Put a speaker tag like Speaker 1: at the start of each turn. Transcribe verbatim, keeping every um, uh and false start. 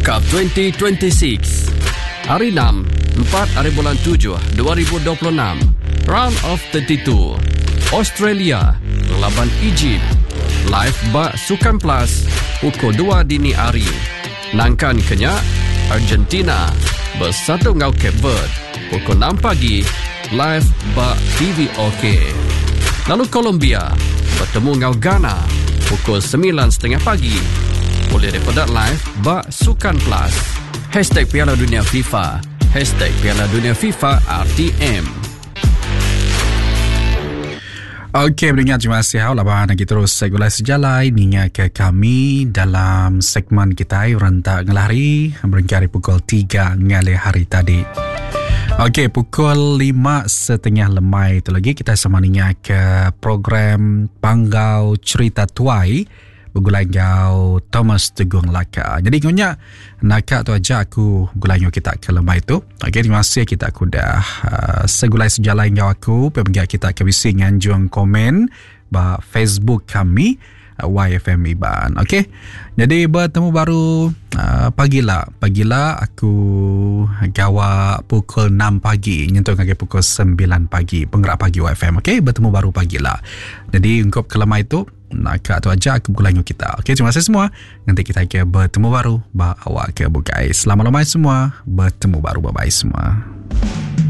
Speaker 1: World Cup dua ribu dua puluh enam. Hari enam, empat hari bulan tujuh dua ribu dua puluh enam. Round of thirty-two. Australia lawan Egypt. Live ba Sukan Plus pukul dua dini hari. Nangkan kenya Argentina bersatu ngau Cape Verde pukul enam pagi live ba T V OK. Lalu Colombia bertemu ngau Ghana pukul sembilan tiga puluh pagi. Boleh daripada live ba Sukan Plus. Hashtag Piala Dunia FIFA. Hashtag Piala Dunia FIFA R T M.
Speaker 2: Okey, pendengar, terima kasih hau laban lagi terus segulai sejalai ninga ke kami dalam segmen kita rentak ngelari berengkari pukul tiga ngalih hari tadi. Okey, pukul lima setengah lemai itu lagi kita sama ninga ke program Panggau Cerita Tuai begulai ngau Thomas Tegung Laka. Jadi ngunya nakak tu aja aku begulai ngau kita ke lemai tu. Okey, terima kasih kita aku dah uh, segulai sejalai ngau aku. Pemgia kita ke bisi nganjung komen ba Facebook kami uh, Y F M Iban. Okey. Jadi bertemu baru uh, pagila. Pagila aku gawa pukul enam pagi nyentuh ngagai pukul sembilan pagi penggerak pagi Y F M. Okey, bertemu baru pagila. Jadi untuk kelemai itu nak tu aja aku begulai dengan kita. Okey, terima kasih semua. Nanti kita ke bertemu baru ba awak ke bukai. Selamat lemai semua. Bertemu baru, bye bye semua.